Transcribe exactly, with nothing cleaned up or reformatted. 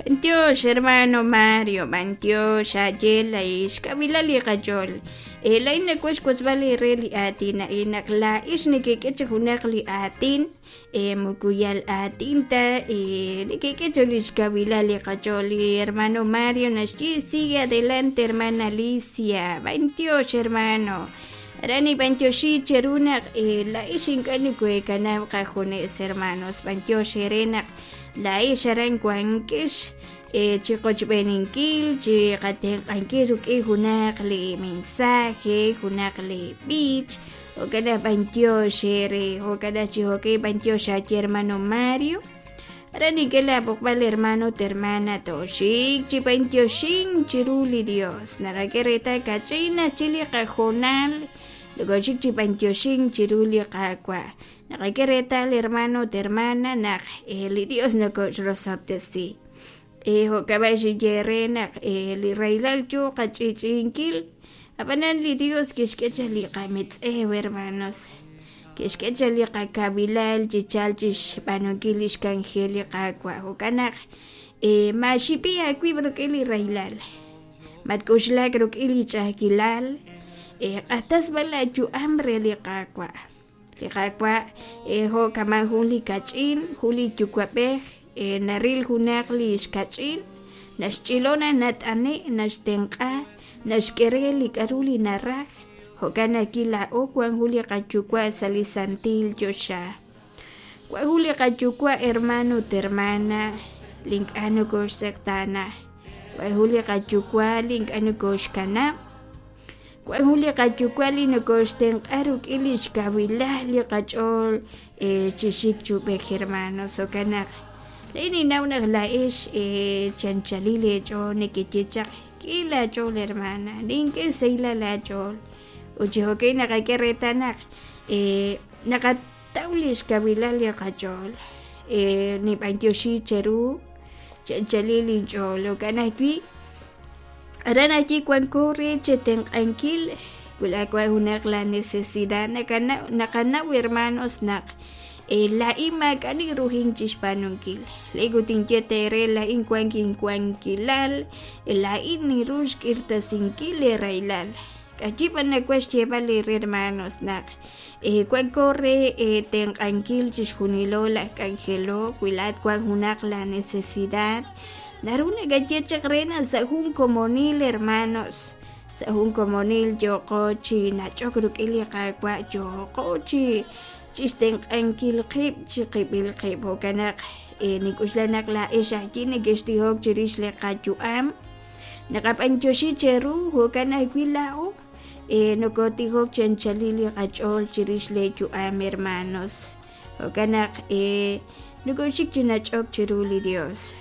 B'antiox hermano Mario, b'antiox xaye lay xkawilal li qach'ool. Eh, laa'in nawaj xwotzb'al eere li aatin a'in naq laa'ix nekek'e chi junaq li aatin eh, moko yal aatin ta eh, nekek'e chi li xkawilal li qach'ool. Li hermano Mario naxye sigue adelante hermana Alicia, b'antiox hermano. Aran nib'antioxi cheru naq eh, laa'ix ink'a' nikoheekanab' qajunes hermanos, b'antiox eere naq laa'ix aran wankex eh, chi qochb'eeninkil chi qatenq'ankil rik'in junaq li mensaje, junaq li b'ich, jo'kan naq b'antiox eere, jo'kan naq chi jo'kan b'antiox aye hermano Mario. Aran nink'e laab'oqb'al hermano ut hermana tooxik chi b'antioxin chiru li Dios. Naqak'e reetal kach'in chi li qajoonal nokoxik chi b'antioxin chiru li Qaawa'. Naqak'e reetal hermano ut hermana naq eh, li Dios nokoxrosob'tesi. Eh, jo'kan b'a xinye eere naq eh, li rahilal yoo qach'i'ch'i'inkil, ab'anan li Dios kixk'e chaq li qametz'ew hermanos. Kixk'e chaq li qakawilal chi chal chi xb'aanunkil li xk'anjel li Qaawa'. Jo'kan naq eh, maaxib'i aawib' rik'in li rahilal, matk'uxlak rik'in li ch'a'ajkilal, eh, q'axtas b'an laayu'am re li Qaawa'. Li Qaawa' eh, jo' kama' jun li kach'in, jun li yuwa'b'ej eh, naril junaq li xkach'in, naxch'ilo naq nat'ane', naxtenq'a, naxk'e re li k'a'ru li naraj. Jo'kan naq laa'o wan jun li qayuwa' sa' li santil choxa. Wan jun li qayuwa' hermano ut hermana li ink'a' nokoxtz'eqtaana. Wan jun li qayuwa' li ink'a' nokoxkanab'. Wan jun li qayuwa' li nokoxtenq'a rik'in li xkawilal li qach'ool eh, chi xik chub'ej hermanos. Jo'kan naq laa'in ninnaw naq laa'ex eh, chanchalil eech'ool nekeye chaq k'i laach'ool hermana, nink'e sahilal aach'ool. Ut chi jo'kan naqak'e reetal naq eh, naqataw li xkawilal li qach'ool. Eh, nib'antioxi cheru chanchalil inch'ool. Jo'kan ajwi' aran ajwi' wanko re chetenq'ankil wi laa junaq la necesidad nakanaw naqanaw hermanos naq eh, laa'in maak'a' ninruhin chixb'aanunkil. Laa'in ut inye teere laa'in wank inwankilal, laa'in ninru xk'irtasinkil li rahilal. K'ayi b'an nawaj xyeeb'al eere hermanos naq eh, wanko re eh, tenq'ankil chixjunilo laj k'anjelo wi laat wan junaq la necesidad naru nakaye chaq re naq sa' jun komonil hermanos, sa' jun komonil yooqo chi nach'ok rik'in li Qaawa' yooqo chi chixtenq'ankil qib' chiqib'il qib'. Jo'kan naq eh, nink'uxla naq laa'ex ajwi' nekextijok chirix li qayu'am, naqab'antioxi cheru jo'kan ajwi' laa'o eh, nokotijok chanchalil li qach'ool chirix lee yu'am hermanos. Jo'kan naq eh, nokoxik chi nach'ok chiru li Dios.